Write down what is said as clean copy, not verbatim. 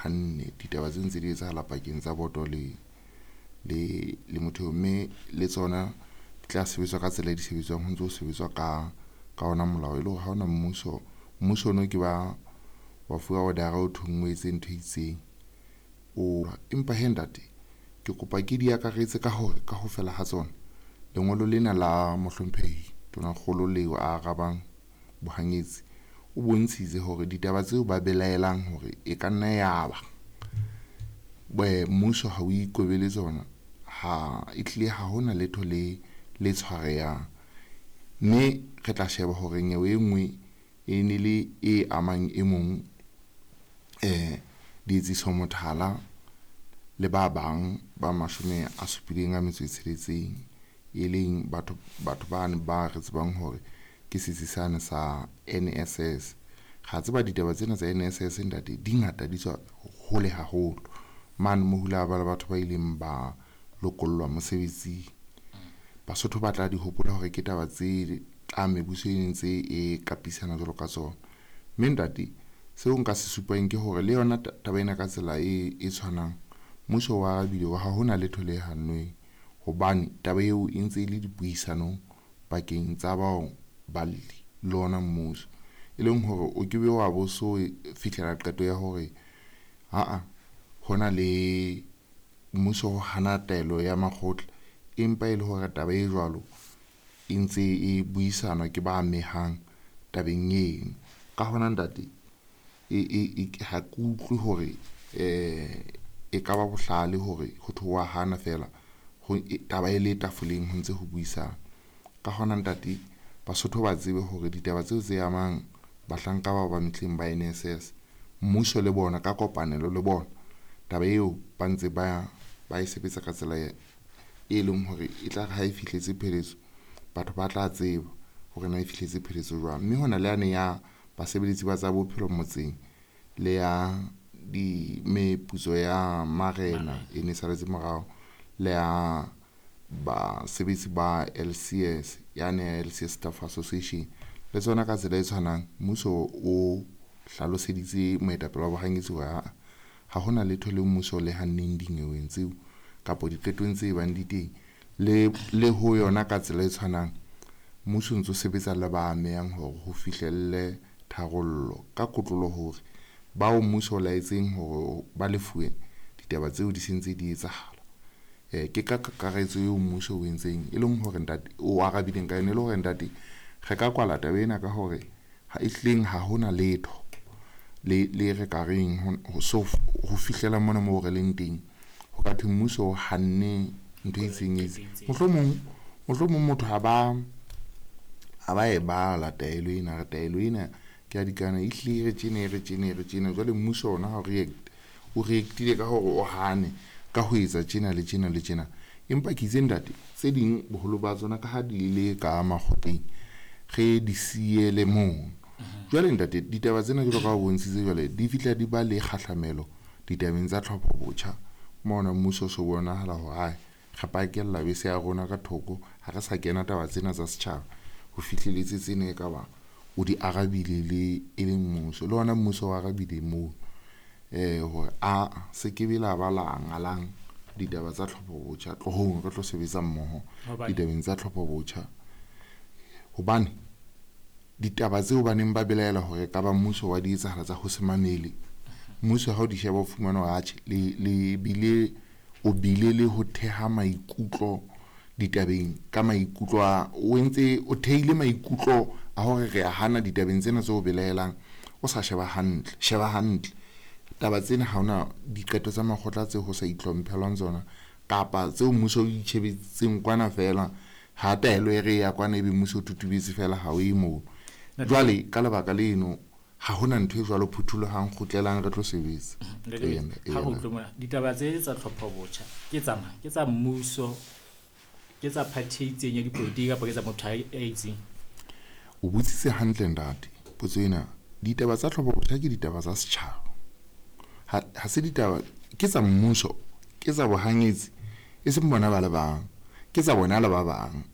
hanne ditaba tse ntse di etsahala pakeng tsa boto le le le motho, mme le tsona di tla sebetswa ka tsela e di sebetswang, ho ntse ho sebetswa ka ona molao, e le hore ha hona mmuso ono ke ba wa fuwa order o thong o etse ntho e itseng. O empa he ntate, ke kopa ke di akaretse ka hore ka ho fela ha tsona lengolo lena la mohlomphehi tonakgolo leo a arabang bohanyetsi, o bontshitse hore ditaba tseo ba belaelang hore e ka nna ya ba mmuso ha o ikobele tsona, ha e tlile ha hona letho le tshwarehang. Mme re tla sheba hore nyewe e nngwe e ne le e amang e mong Dietsiso Mothala le ba bang ba 76, e leng batho bane ba re tsebang hore ke setsi sane sa NSS. Ra tseba ditaba tsena tsa NSS ntate di ngata, di tswa hole haholo mane mo hula ba le batho ba ileng ba lokollwa mosebetsing. Basotho ba tla di hopola hore ke taba tse tla mebuso e ntse e kapisana jwalo ka tsona. Mme ntate, seo nka se supang ke hore le yona taba ena ka tsela e tshwanang, mmuso wa arabile hore ha hona letho le hannweng, hobane taba eo e ntse e le dipuisanong pakeng tsa bao balli le ona mmuso, e leng hore o ke be wa bo so fihlela qeto ya hore aa hona le mmuso ho hana taelo ya makgotla, empa e le hore taba e jwalo e ntse e buisanwa ke ba amehang tabeng eno. Ka hona ntate, ha ke utlwe hore e ka ba bohlale hore ho thwe wa hana fela taba e le tafoleng ho ntse ho buisana. Ka hona ntate, Basotho ba tsebe hore ditaba tseo tse amang bahlanka bao ba mehleng ba NSS, mmuso le bona ka kopanelo le bona taba eo ba ntse ba e sebetsa ka tsela e leng hore e tla re ha e fihletse pheletso, batho ba tla tseba hore na e fihletse pheletso jwang. Mme hona le yane ya basebeletsi ba tsa bophelo motseng le ya di meputso ya marena e ne saletse morao, le ya basebetsi ba LCS, yane ya LCS Staff Association, le tsona ka tsela e tshwanang mmuso o hlaloseditse moetapele wa bohanyetsi hore ha hona letho le mmuso le hanneng dinyeweng tseo kapa diqetong tse bang di teng. Le ho yona ka tsela e tshwanang mmuso ntso sebetsa le ba amehang hore ho fihlelle tharollo ka kotlolo hore bao mmuso o laetseng hore ba lefuwe ditaba tseo di sentse di etsahala. Ke ka kakaretso eo mmuso o entseng, e leng hore ntate o arabileng ka yona, e le hore ntate re ka kwala taba ena ka hore ha e hleng ha hona letho le re ka reng ho fihlela mona moo re leng teng, ho ka thwe mmuso o hanne ntho e itseng e itseng. Mohlomong motho ha ba e bala taelo ena, re taelo ena ke ya dikana, e hlile re tjena, re tjena, re tjena. Jwale mmuso ona ha o react, o reactile ka hore o hane ka ho etsa tjena le tjena le tjena. Empa ke itse ntate, tse ding boholo ba tsona ka ha di le ka makgotleng, re di siele mono. Jwale ntate, ditaba tsena jwalo ka ha o bontshitse jwale di fihla di ba le kgahlamelo ditabeng tsa tlhopho botjha. Mona mmuso o so bonahala hore hai re pakella bese ya rona ka thoko, ha re sa kena taba tsena tsa setjhaba ho fihleletse tsena e ka ba o di arabile le e leng mmuso, le ona mmuso o arabile moo hore a se ke be la ba la ngalang ditaba tsa tlhopho botjha, tlohong re tlo sebetsa mmoho ditabeng tsa tlhopho botjha. Hobane ditaba tseo ba neng ba belaela hore ka ba mmuso wa di etsahala tsa ho se mamele, mmuso ha o di sheba o fumana hore atjhe le bile o bile le ho theha maikutlo ditabeng ka maikutlo a o entse o theile maikutlo a hore re a hana ditabeng tsena tse o belaelang, o sa sheba hantle, sheba hantle taba tsena ha hona diqeto tsa makgotla tse ho sa itlhomphelwang tsona kapa tseo mmuso o itjhebetseng kwana fela, ha taelo e re ya kwana ebe mmuso o tutubetse fela ha o ye moo. Jwale ka lebaka leno ha hona ntho e jwalo, phuthulohang, kgutlelang re tlo sebetsa. Ha ho utlwe mona, ditaba tse tsa tlhopho botjha ke tsa mang? Ke tsa mmuso, ke tsa party e itseng ya dipolotiki kapa ke tsa motho a itseng? O botsitse hantle ntate potso ena. Ditaba tsa tlhopho botjha ke ditaba tsa setjhaba, ha se ditaba ke tsa mmuso, ke tsa bohanyetsi, e seng bona ba le bang, ke tsa bona le ba bang.